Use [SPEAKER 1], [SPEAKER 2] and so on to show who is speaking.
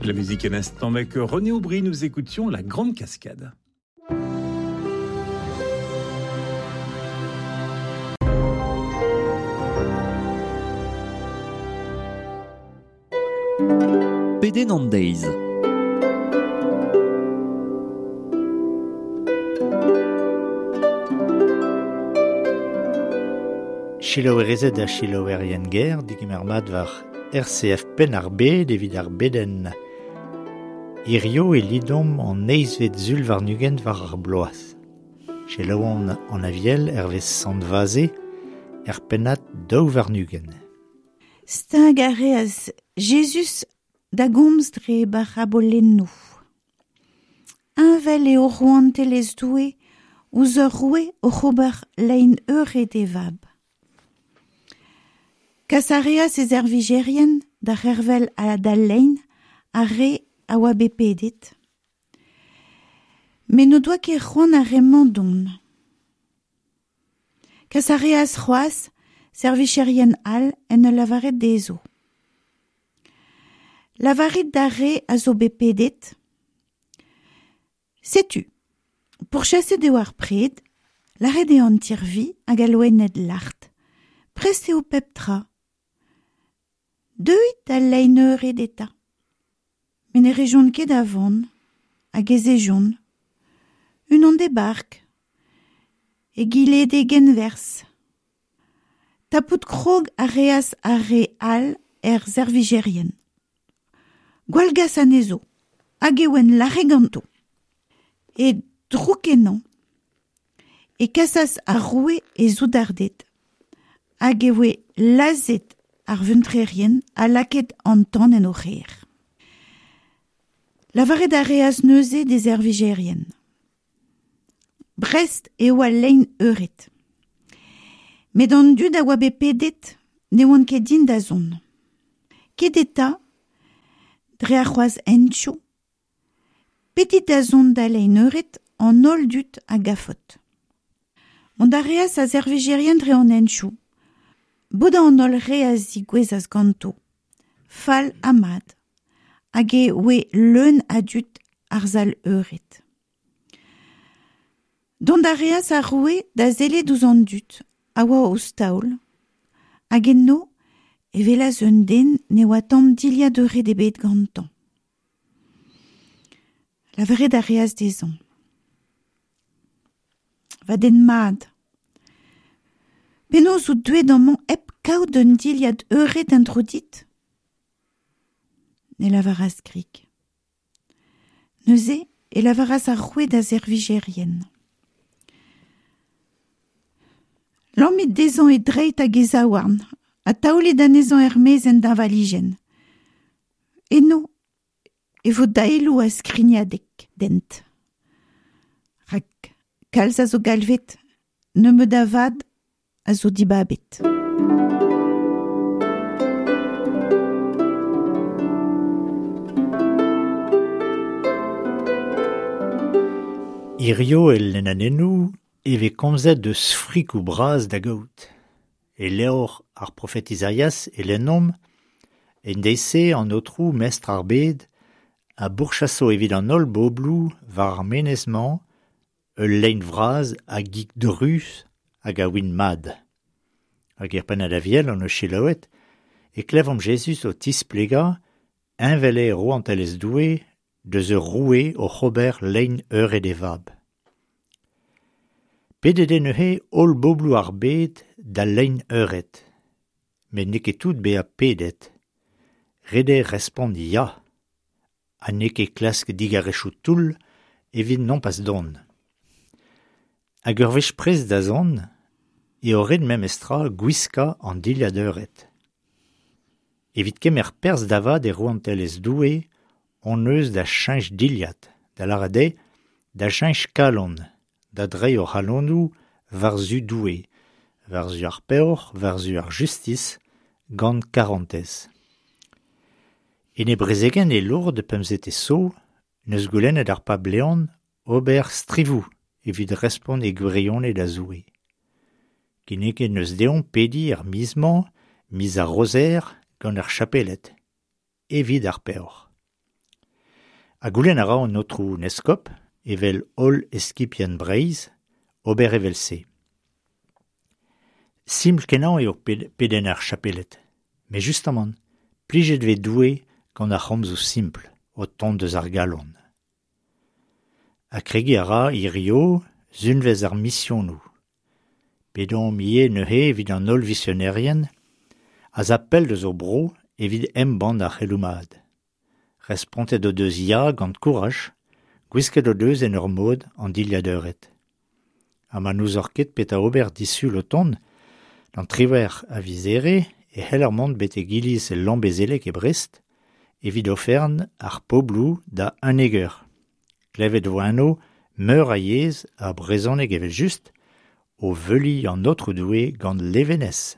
[SPEAKER 1] La musique à l'instant avec René Aubry, nous écoutions La Grande Cascade.
[SPEAKER 2] Pedenn an deiz.
[SPEAKER 3] Selaouerezed ha selaouerien ger, digemer mat war RCF Penn-ar-Bed evit ar bedenn. Hirio e lidomp an eizhvet sul warn-ugent war ar bloaz. Selaouomp an Aviel hervez Sant Vaze er pennad 22.
[SPEAKER 4] Stag a reas Jezuz da gomz dre barabolennoù. Heñvel eo rouantelezh Doue ouzh ur roue oc'h ober lein eured e vab. Kas a reas e servijerien da c'hervel d'al lein ar re a oa bet pedet. Met n'o doa ket c'hoant ar re-mañ dont. Kas a reas c'hoazh servijerien all en ul lavaret dezho. Lavarit d'ar re a zo bet pedet. Setu, pourchaset eo ar pred, lâret eo an tirvi hag al loened lart. Prest eo pep tra. Deuit d'al lein eured eta. Met ne rejont ket a van, hag ez ejont. Unan d'e bark, egile d'e genwerzh. Tapout krog a reas ar re all er servijerien. Gwallgas anezho, hag e oant lâret ganto. E drouk ennañ e kasas ar roue e soudarded, hag e voe lazhet ar vuntrerien ha lakaet an tan en o c'hêr. Lavaret a reas neuze d'e servijerien. Brest eo al lein eured. Met an dud a oa bet pedet ne oant ket din da zont. Ket eta, dre ar c'hoazh hentioù, pedit da zont da lein eured an holl dud a gafot. Mont a reas a servijerien dre an hentioù. Bodañ an holl re a zigouezas ganto, fall ha mat, hag e oe leun a dud ar sal eured. Dont a reas ar roue da sellet ouzh an dud a oa ouzh taol, hag eno e welas un den ne oa tamm dilhad eured ebet gantañ. Lavaret a reas dezhañ. Va den mat, penaos out deuet amañ hep kaout un dilhad eured en-dro dit? Ne lavaras grik. Neuze e lavaras ar roue da servijerien. Lammit dezhañ e dreid hag e zaouarn ha taolit anezhañ er-maez en deñvalijenn. Eno e vo daeloù ha skrignadeg dent. Rak kalz a zo galvet, nebeut a vad a zo dibabet.
[SPEAKER 3] Hirio el lennanennoù e vez komzet deus frikoù bras da gaout. E levr ar profet Izaias e lennomp, en deiz-se an aotrou mestr ar bed a bourchaso evit an holl bobloù war ar menez-mañ ul lein vras a gig druz hag a win mat. Hag er pennad Aviel hon eus selaouet e klevomp Jezuz o tisplegañ heñvel eo rouantelezh Doue deus ur roue oc'h ober lein eured e vab. Pedet eo neuze holl bobloù ar bed da lein eured. Met n'eo ket tout bezañ pedet. Ret eo respont ya, ha n'eo ket klask digarezioù toull evit nompas dont. Hag ur wech prest da zont eo ret memestra gwiskañ an dilhad eured. Evit kemer perzh da vat e rouantelezh Doue hon eus da cheñch dilhad, da lâret eo da cheñch kalon, da dreiñ hor c'halonoù war-zu Doue, war-zu ar peoc'h, war-zu ar justis, gant karantez. En e brezegenn e Lourdes pemzetez zo, n'eus goulennet ar pab Leon ober strivoù evit respont e gwirionez da Zoue. Kinniget n'eus deomp pediñ ar miz-mañ, miz ar Rozer, gant ar chapeled, evit ar peoc'h. Ha goulenn a ra an aotrou 'n eskob, evel holl eskibien Breizh, ober evel-se. Simpl-kenañ eo pedenn ar chapeled. Met justamant, plijet 'vez Doue gant ar c'homzoù simpl o tont eus ar galon. Ha kregiñ a ra hirio sunvezh ar misionoù. Pedomp ivez neuze evit an holl visionerien a za pell deus o bro evit embann ar c'heloù mat. Respontet o deus ya gant kouraj, gwisket o deus en ur mod an dilhad eured. Ha ma n'ouzoc'h ket petra ober disul o tont, d'an 18 a viz Here e c'heller mont betek iliz Lambezelleg e Brest evit oferenn ar pobloù da 11 eur. Klevet 'vo eno meur a yezh ha brezhoneg evel-just o veuliñ an Aotrou Doue gant levenez.